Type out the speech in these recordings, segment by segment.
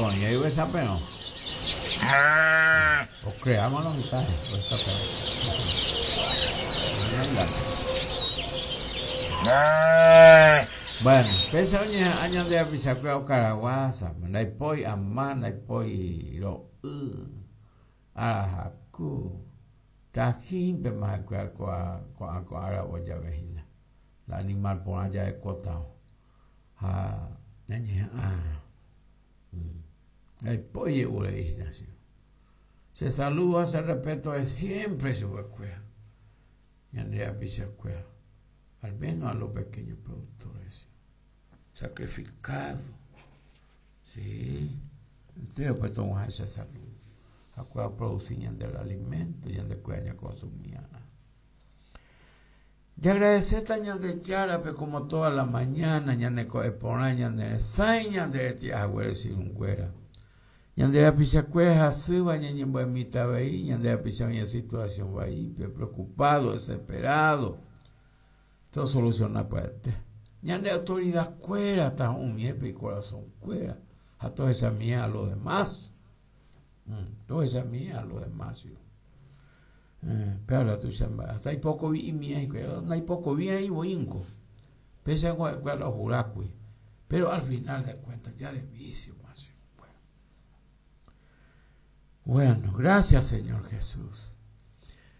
Naiporĩ ovechaperõ. Ocreáma lo mitã ovechaperõ. Bueno, péicha oñeha'ã ñande rapichakuéra okaraguásame, ndaipói ama, ndaipói ro'y, arahaku, trajínpema ha'ekuéra ko'ã ko'ã aravo jave hína. La animal porã jarekótavo. Ha ñañeha'ã ndaipói je'u rei hína che. Che saludo ha che respeto es siempre chupekuéra, ñande rapichakuéra, al menos a los pequeños productores, sacrificado, sí, entérope tog̃uahẽ che saludo, ha'ekuéra oproduci ñande el alimento ñandekuéra ñakonsumi'arã. Jagradecéta Ñandejárape como toda la mañana ñane ko'ẽ porã ñane resãi ñande reti'a haguére che irũnguéra. Ñande rapichakuéra hasýva ñañembo'emíta avei ñande rapicha oĩva situación vaípe, preocupado, desesperado. Tosoluciona pya'ete. Ñande autoridad kuéra tahu'ũmiépe icorazón kuéra ha tohechamie a lo demás. Tohechamie a lo demás. Péva tuicha mba'e. Hasta ipokovi'imie hikuái. Ndaipokovi'ai voíngo. Péicha ha'ekuéra la ohurákuri. Pero al final de cuentas ya de vicio más. Bueno, gracias Señor Jesús.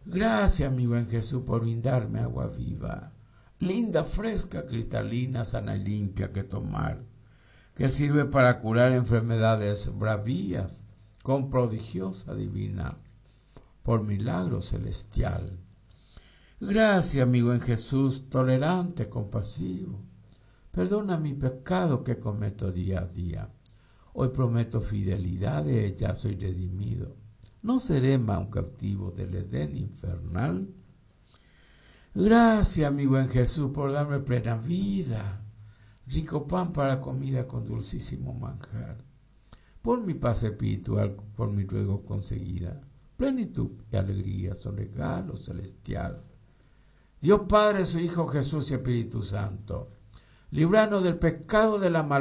Gracias mi buen Jesús por brindarme agua viva, linda, fresca, cristalina, sana y limpia que tomar, que sirve para curar enfermedades bravías con prodigiosa divina por milagro celestial. Gracias, mi buen Jesús, tolerante, compasivo. Perdona mi pecado que cometo día a día. Hoy prometo fidelidad, de ya soy redimido. No seré más un cautivo del Edén infernal. Gracias, mi buen Jesús, por darme plena vida, rico pan para comida con dulcísimo manjar. Por mi paz espiritual, por mi ruego conseguida, plenitud y alegría son regalo celestial. Dios Padre, su Hijo Jesús y Espíritu Santo, libranos del pecado de la maldad.